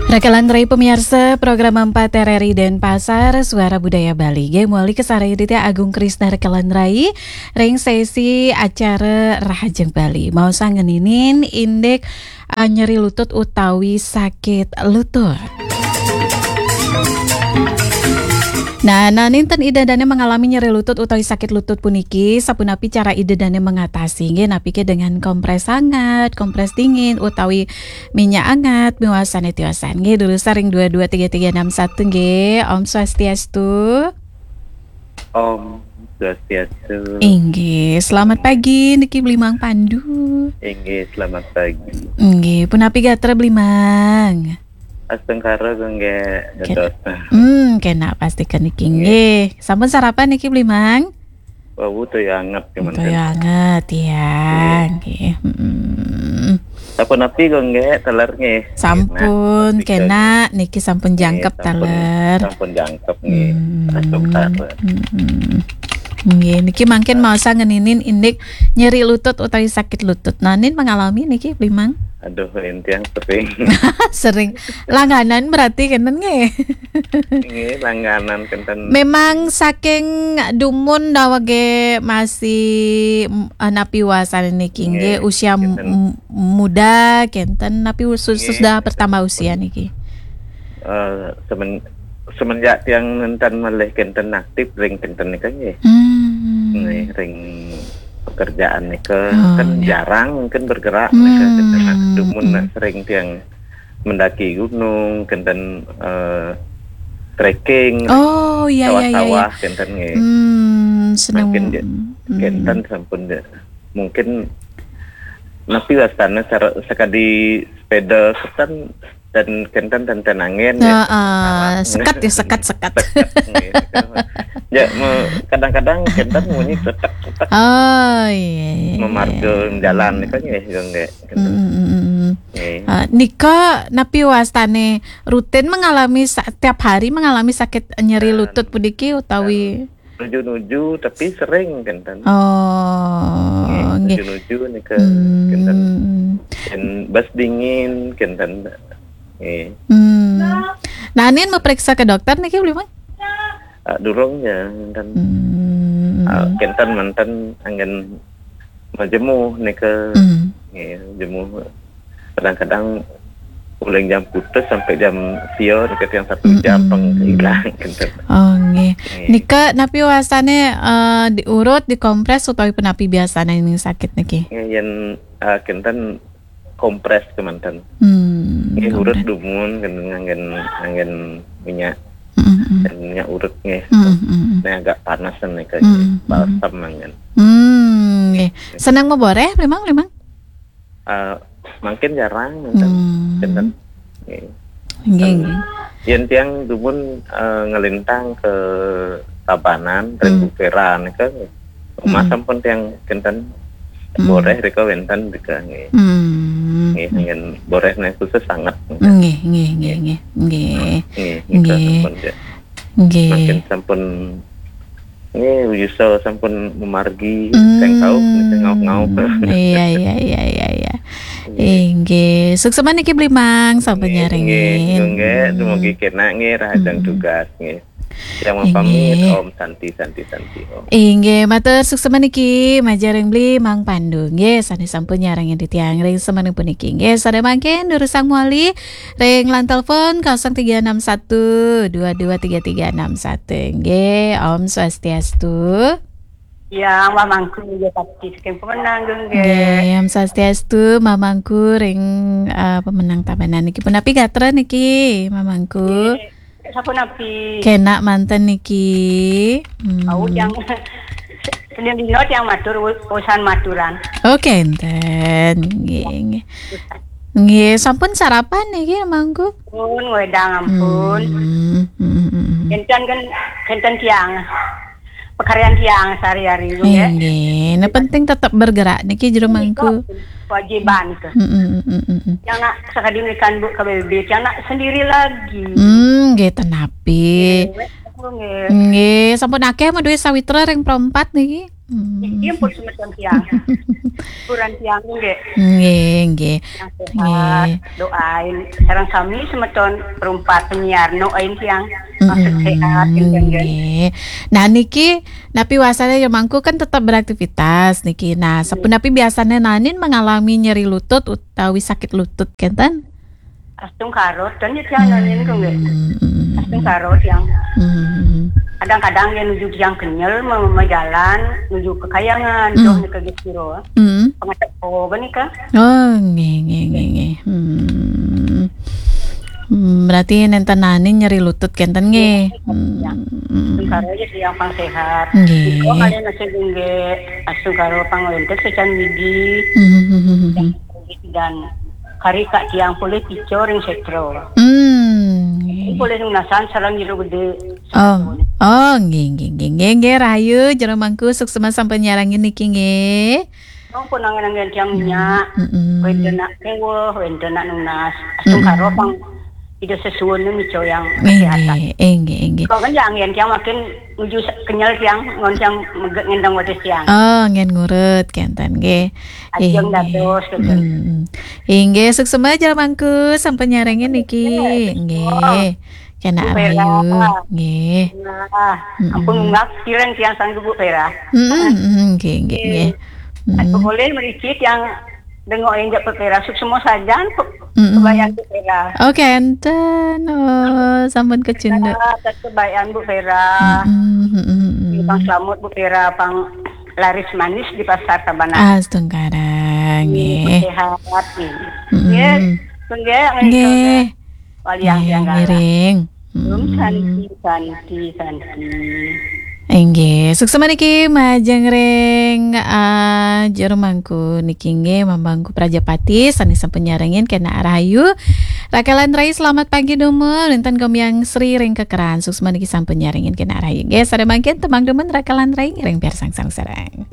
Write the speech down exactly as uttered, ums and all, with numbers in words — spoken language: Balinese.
Rekalan rai pemirsa program empat R R I Denpasar, Suara Budaya Bali. Nggih, muli kasarengin Ditya Agung Krisna rekalan rai ring sesi acara Rahajeng Bali. Maos ngeninin indik, eh, nyeri lutut utawi sakit lutut. Nah, nah, nénten Ida dané mengalami nyeri lutut utawi sakit lutut puniki, sapunapi cara Ida dané mengatasi? Nggih, napi ké dengan kompres hangat, kompres dingin, utawi minyak hangat, miwasné tiosan. Nggih, durusang ring dua dua tiga tiga enam satu nggih. Om Swastiastu. Om Swastiastu. Inggih, selamat pagi niki Bli Mang Pandu. Inggih, selamat pagi. Inggih, punapi gatra Bli Mang? Astungkara nggih, Ken-, dados. Hmm, kenak pasti niki nggih. Sampun sarapan niki Bli Mang? Wau toya anget kemanten. Toya anget ya, nggih. Mm-mm. Sapunapi nggih, taler nggih? Sampun, kenak, kenak niki sampun jangkep taler. Sampun jangkep nggih. Hmm. Astungkara. Mm-mm. Nggih, niki mangkin maos ngeninin indik nyeri lutut utawi sakit lutut. Nah, nin mengalami niki Bli Mang? Aduh, yen tiang sering. Sering. Langganan berarti kenten nggih. Nggih, langganan kenten. Memang saking dumun dawege masih, mm, eh, napi wasané niki nggih, nggih, usia m-, m-, muda kenten, napi usus sudah bertambah usia niki? Eh, semen-, semenjak tiang nenten malih kenten aktif ring kenten nika nggih. Hmm. Nggih, ring pekerjaan nika kan jarang mungkin bergerak nika, kenten dumun sering tiang mendaki gunung, kenten, eh, trekking, oh, iya, iya, iya, sawah-sawah, kenten nggih. Hmm, seneng. Mungkin je-, kenten sampun je-, mungkin napi wastané cara sakadi sepeda kenten dan kenten, kenten angin ya. Heeh, sekat ya, sekat, sekat. Sekat, nggih. Ya, me-, kadang-kadang kenten bunyi setek-setek. Oh, iya, iya, iya. Memarga jalan nika nggih, nggih. Mm, mm, mm, mm. Nggih. Ah, nika napi wastané rutin mengalami sa-, tiap hari mengalami sakit nyeri lutut puniki utawi? Nuju-nuju, tapi sering kenten. Oh, nggih, nggih. Nuju-nuju nika kenten. Yen bas dingin kenten. Nggih. Hmm. Nah, nin memeriksa ke dokter niki Bli Mang? Ah, durung ya, kenten. Hmm. Ah, kenten manten anggen majemuh nika. Hmm. Nggih, jemuh. Kadang-kadang uling jam putus sampai jam sia nika tiang satu jam pang ilang kenten. Oh, nggih. Nggih. Nika napi wastané, eh, diurut, dikompres utawi punapi biasané ning sakit niki? Nggih, yen, eh, kenten kompres kemanten. Hmm, nggih, urut kompres. Dumun kenten nganggen, nganggen minyak. Mm, mm. Dan minyak urut nggih. Mm, mm, mm. Nek agak panas nika nggih. Mm, mm. Balsam mangkin. Hmm, nggih. Seneng maboreh Bli Mang, Bli Mang? Eh, mangkin jarang manten. Hmm. Kenten. Nggih. Nggih, nggih. Yen tiang dumun, eh, ngelintang ke Tabanan, ring Bukera nika, rumah sampun tiang kenten. Hmm. Boreh rika wenten rika nggih. Hmm. Nggih, yen boreh nika khusus sanget. Nggih, nggih, nggih, nggih. Nggih. Nggih, nika sampun, ya. Nggih. Mangkin sampun, nggih, yusa sampun memargi, sing tau, sing ngaup-ngaup. Iya, iya, iya, iya, iya. Nggih. Inggih. Suksma niki Bli Mang, sampun nyarengin. Nggih, nggih, dumugi kenak nggih, rahajeng tugas nggih. Tiang mapamit, Om Santi, Santi, Santi, Om. Inggih, matur suksma niki, majeng ring Bli Mang Pandu. Nggih, sané sampun nyarengin titiang ring semening puniki. Nggih, sané mangkin durusang malih ring line telepon kosong tiga enam satu dua dua tiga tiga enam satu. Nggih, Om Swastiastu. Ya, Mbak Mangku, ya, pasti saking pemenang, nggih. Nggih, Om Swastiastu, Mamangku ring, eh, pemenang Tabanan niki. Punapi gatra niki, Mamangku? Nggih, sapunapi? Kenak manten niki. Hmm. Au, tiang, senin dino tiang matur, u-, usan maturan. Oh, kenten. Nggih, nggih. Nggih, sampun sarapan niki, Mamangku? Pun, wedang ampun. Hmm, hmm, hmm, hmm. Kenten kan, kenten tiang. Pekerjaan tiang sehari-hari, nggih. Inggih. Nah, penting tetap bergerak niki jero Mangku. Kewajiban itu. Mm, mm, mm, mm, mm. Yang nak sekali menekan Bu K B B B, yang nak sendiri lagi. Hmm, nggih, tenapi. Nggih, nggih. Nggih, sampun akeh madué sawitra ring Pro empat niki. Hmm. Niki pun semeton tiang. Kuran tiang nggih. Nggih, nggih. Yang sehat, nggih. Doain. Sareng sami semeton perumpat penyiar, doain tiang. Maksud sehat, nggih. Nggih. Nah, niki napi wasane jero mangku kan tetap beraktivitas niki. Nah, sapunapi biasane nanin mengalami nyeri lutut utawi sakit lutut kenten? Astungkara, ten ya tiang nanin ku nggih. Hmm. Astungkara tiang. Hmm. Kadang-kadang yen nuju tiang kenyel me-, mejalan nuju ke kayangan, hmm, doh nika nggih sira. Hmm. Pengatek hawa nika. Oh, nggih, nggih, nggih, nggih. Hmm. Hmm, berarti nenten nanin nyeri lutut kenten nggih. Nggih, tiang. Hmm. Astungkara ya tiang pang sehat. Nggih. Nika malih nasib nggih. Astungkara pang wenten secan widi. Hmm, hmm, hmm, hmm, hmm. Dan kari kak tiang polih pica ring setra. Hmm. Polih nunasan sareng jero gede. Oh. Oh, nggih, nggih, nggih, nggih, nggih, rahayu, jero mangku, suksma sampun nyarengin niki nggih. Sampun angen-angen tiang minyak. Mm-mm. Wenten nak keweh, wenten nak nunas. Astungkara pang Ida sesuwun mica yang kesehatan. Inggih, inggih, inggih. Kok kan yang yen tiang makin nuju se-, kenyel tiang, ngon tiang megek ngendang wates tiang. Oh, ngen ngurut kenten nggih. Ajeng dados kenten. Hmm. Inggih, suksma jero mangku sampun nyarengin niki. Nggih. Kena Bu Vera. Rahayu. Nggih. Nah, ampun nggak kirang tiang sanggup Bu Vera. Hmm, hmm, nggih, nggih, nggih. Aku boleh mericit yang dengokin jak Bu Vera. Suksma sajan, Bu. Kebayaan Bu Vera. Oh, kenten. Oh, sampun kecunduk. Kebayaan Bu Vera. Pang selamat Bu Vera, pang laris manis di pasar Tabanan. Astungkara, nggih. Sehat, nggih. Nggih. Nggih. Waliang nggih, tiang galah. Ngiring. Om Santi, Santi, Santi. Inggih, suksma niki majeng ring, ah, jero mangku niki nggih, Mamangku Prajapati, sane sampun nyarengin kena rahayu. Rakelan rai, selamat pagi dumun, wenten Gomyang Sri ring Kekeran, suksma niki sampun nyarengin kena rahayu. Nggih, sare mangkin tembang dumun Rakelan rai ring pirsang sareng-sareng.